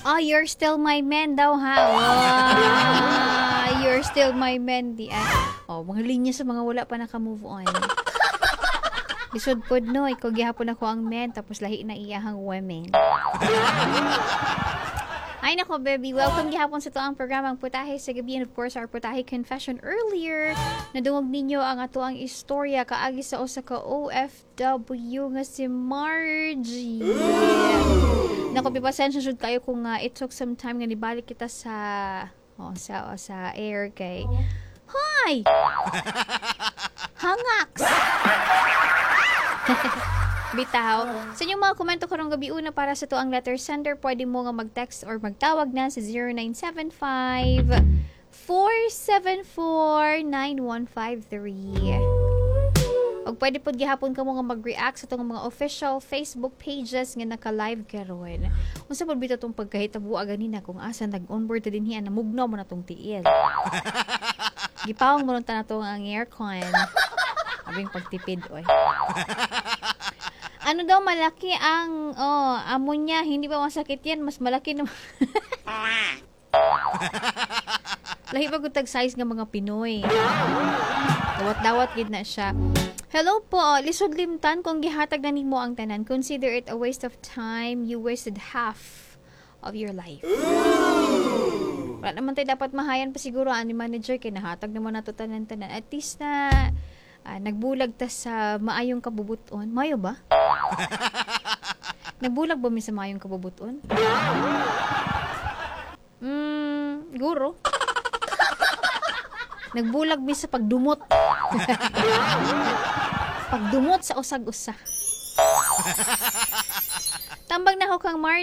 Oh, you're still my man daw ha. Wow, you're still my man di ah. Oh, mga linya sa mga wala pa naka-move on. Lisod pod no, ikaw gihapon ako ang man tapos lahi na iyahang women. Ay nako, baby. Welcome gihapon sa atoang programang Putahe sa Gabi and of course our Putahe Confession earlier. Nadungog ninyo ang atoang istorya kaagi sa usa ka OFW nga si Margie. Nako, pasensya jud kayo kung it took some time nga nibalik kita sa air kay Hi! Hangaks! Bitaw. Sa inyong mga komento karong gabi una para sa atoang letter sender, pwede mo nga mag-text or magtawag na sa 0975 474 9153. Og pwede pod gihapon kamo nga mag-react sa atong mga official Facebook pages nga naka-live karon. Unsa pod bitaw tong pagkahitabo ganina kung asa nag-onboard ta dinhi, namugnaw man atong tiil. Gipawong mo ta nato ang aircon. Abing pagtipid oy. Ano daw, malaki ang oh, amo niya, hindi ba masakit yan? Mas malaki naman. Lahi pa gud tag size nga mga Pinoy. Dawat-dawat gid na siya. Hello po, lisod limtan kung gihatag na nimo ang tanan. Consider it a waste of time. You wasted half of your life. Wala naman tayo dapat mahayan pa siguro ani manager kay nahatag naman nato tanan-tanan. At least na nagbulag ta sa maayong kabubuton. Mayo ba? Nagbulag ba mi sa maayong kabubuton? Guro. Nagbulag mi sa pagdumot. Pagdumot sa usag-usa. Tambag na ko kang Mar